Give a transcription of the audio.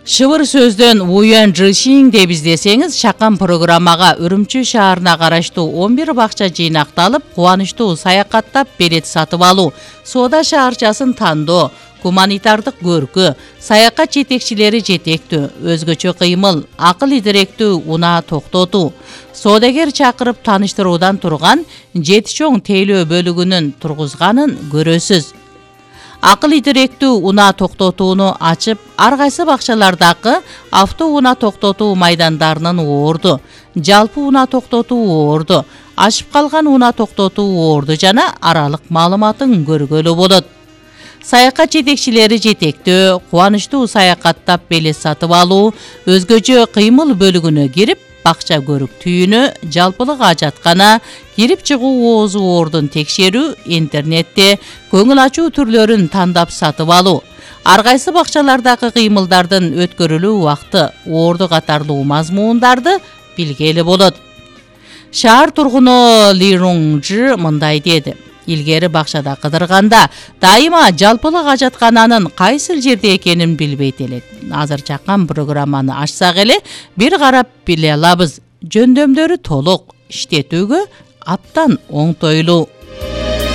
Шыбыр сөздөн Уян Жишин деп издесеңиз, чакан программага Үрүмчү шаарына караштуу 11 бакча жыйнакталып, кубанычтуу саякаттап билет сатып алуу, соода шаарчасын тандоо, гуманитардык көркү, саякат жетекчилери жетектүү, өзгөчө кыймыл, акыл идиректүү унаа токтотуу, соодагер чакырып тааныштыруудан турган 7 чоң тейлөө бөлүгүнүн тургузганын көрөсүз. Акыл идиректүү унаа токтотууну ачып, ар кайсы бакчалардагы авто унаа токтотуу майдандарынын оорду, жалпы унаа токтотуу оорду, ашып калган унаа токтотуу оорду жана аралык маалыматын көргөлү болот. Саякат жетекчилери жетектөө, кубанычтуу саякаттап билет сатып алуу, өзгөчө кыймыл бөлүгүнө кирип, бакча көрүк түйүнү, жалпылык ажаткана, кирип чыгуу оозу оордун текшерүү, интернетте көңүл ачуу түрлөрүн тандап сатып алуу, ар кайсы бакчалардагы кыймылдардын өткөрүлүү убакты, оорду катарлуу мазмундарды билгели болот. Шаар тургуну Ли Руңжи мындай деди: илгери бакчада кыдырганда дайыма жалпылык ажаткананын кайсыл жерде экенин билбейт элек. Азыр чакан программаны ачсак эле бир карап биле алабыз. Жөндөмдөрү толук, иштетүүгө абдан оңтойлуу.